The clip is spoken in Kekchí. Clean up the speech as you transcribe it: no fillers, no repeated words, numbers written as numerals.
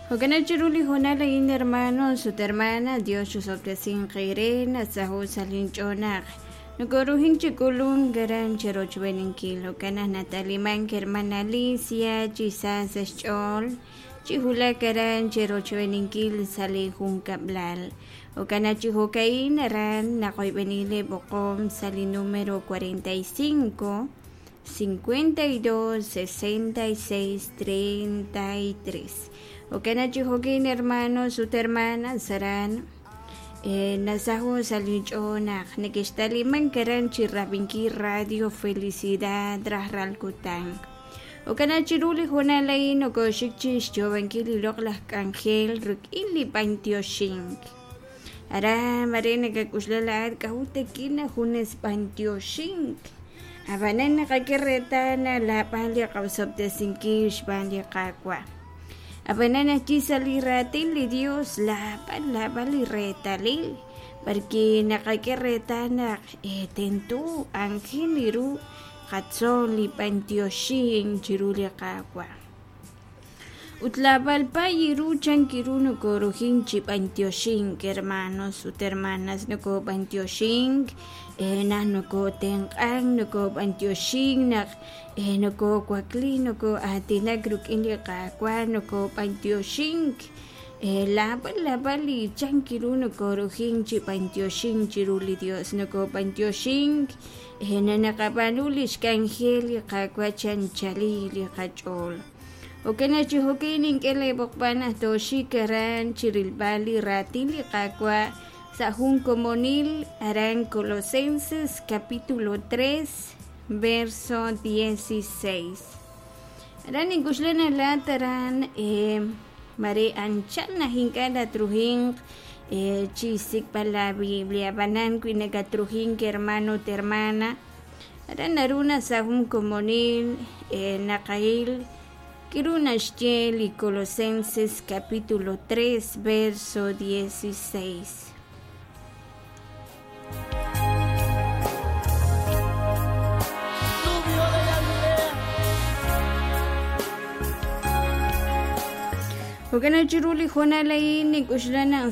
Jo'kan chiru li hoonal a'in hermanos ut hermanas, Dios chusob'tesinq eere nasaho' sa' linch'ool naq nokoruhin chi k'ulunk aran cherochb'eeninkil. Jo'kan naq natalimank hermana Alicia chi sa sa' xch'ool chi wulak aran cherochb'eeninkil sa' li junkab'lal. Jo'kan naq chi jo'ka'in aran naqoyb'eni li b'oqom sa' li número 45 52 66 33. Jo'kan naq chi jo'kin hermanos ut hermanas aran nasaho' sa' linch'ool naq nekextalimank aran chi rab'inkil Radio Felicidad rajlal kutan. Jo'kan naq chiru li hoonal a'in nokoxik chi xyoob'ankil li loq'laj k'anjel rik'in li b'antioxink. Aran mare nakak'uxla laa'at k'a'ut takin junes b'antioxink. Ab'anan naqak'e reetal naq laab'al li qaosob'tesinkil xb'aan li Qaawa'. Ab'anan ajwi' sa' li raatin li Dios laab'al laab'al li reetalil b'arwi' naqak'e reetal naq tento aajel ru qatzol li b'antioxink chiru li Qaawa'. Ut laab'al pay ru chan ru nokorujink chi b'antioxink hermanos ut hermanas nokob'antioxink naq nokotenq'ank nokob'antioxink naq nokowakli noko'aatinak rik'in li Qaawa' nokob'antioxink laab'al laab'al li chan ru nokorujink chi b'antioxink chiru li Dios nokob'antioxink naqab'aanu li xk'anjel li Qaawa' chi anchalil li qach'ool. Jo'kan naq chi jo'kin nink'e leeb'oqb'al naq tooxik aran chi rilb'al li raatin li Qaawa' sa' jun komonil aran Colosenses capítulo 3 verso 16. Aran nink'uxla naq laa'at aran mare anchal naq ink'a' tatrujinq chi xsik'b'al la Biblia ab'anan wi nakatrujink hermano ut hermana aran naru naq sa' jun komonil naqahil k'aru naxye li Colosenses capítulo 3 verso 16. Rubio de Galilea. Jo'kan naq chiru li hoonal a'in nink'uxla naq